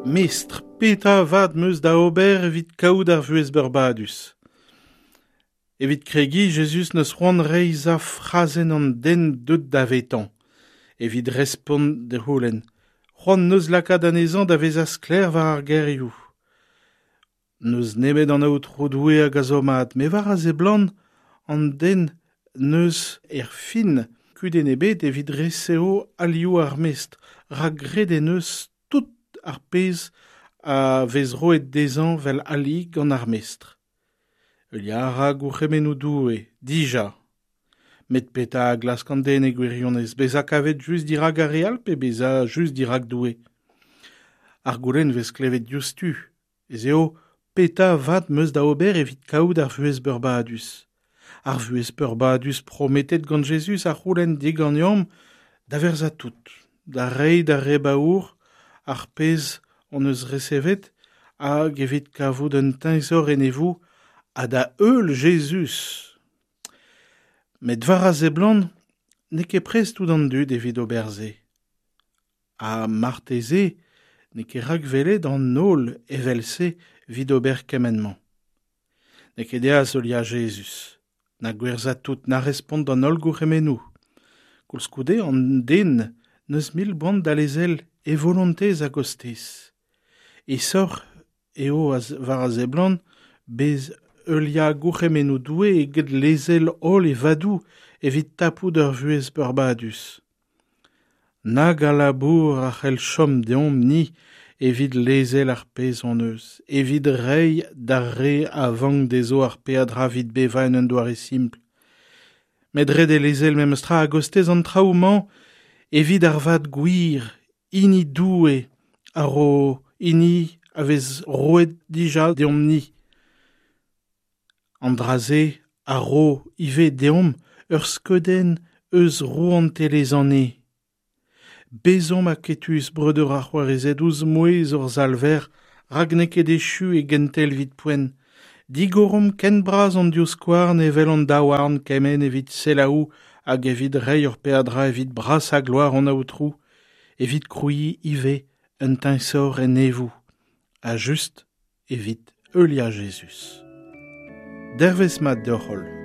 Mestr, petra vat 'm eus da ober evit kaout ar vuhez beurbadus? Evit kregiñ, Jezuz 'neus c'hoant reizhañ frazenn an den deuet davetañ evit respont d'e c'houlenn. C'hoant 'neus lakaat anezhañ da vezañ sklaer war ar gerioù. N'eus nemet an Aotrou Doue hag a zo mat, met war a seblant an den 'neus er fin kudenn ebet evit resev alioù ar mestr, rak graet en deus tout ar pezh a vez roet dezhañ 'vel ali gant ar mestr. Heuliañ a ra gourc'hemennoù Doue, dija. Met petra a glask an den e gwirionez, bezañ kavet just dirak ar re all pe bezañ just dirak Doue? Ar goulenn 'vez klevet diouzhtu, ez eo petra vat 'm eus da ober evit kaout ar vuhez beurbadus? Ar vuhez peurbadus prometet gant Jezuz a c'houlenn diganeomp da verzañ tout, da reiñ d'ar re baour ar pezh hon eus resevet hag evit kavout un teñzor enevoù ha da heul Jezuz. Met war a seblant n'eo ket prest tout an dud evit ober se. Ha marteze n'eo ket rakwelet an holl evel-se evit ober kement-mañ. N'eo ket aes heuliañ Jezuz, na gwerzhañ tout, na respont d'an holl gourc'hemennoù. Koulskoude an den n'eus mil boan da lezel e volontez a-gostez. Aesoc'h eo war a seblant bez heuliañ gourc'hemennoù Doue eget lezel holl e vadoù evit tapout ur vuhez peurbadus. Nag a labour a c'hell chom deomp-ni evit lezel ar pezh hon eus, evit reiñ d'ar re a vank dezho ar peadra evit bevañ en un doare simpl. Met ret eo lezel memes tra a-gostez an traoù-mañ evit ar vad gwir, hini Doue a ro hini a vez roet dija deomp-ni. An dra-se a ro ivez deomp ur skeudenn eus rouantelezh an Neñv. Bezomp aketus, breudeur ha c'hoarezed, ouzh mouezh hor Salver, rak n'eo ket echu e gentel evit poent. Digoromp ken bras hon divskouarn evel hon daouarn kement evit selaou hag evit reiñ hor peadra evit brasañ gloar hon Aotrou, evit krouiñ ivez un teñzor en neñvoù, ha just evit heuliañ Jezuz. Dervezh mat deoc'h-holl.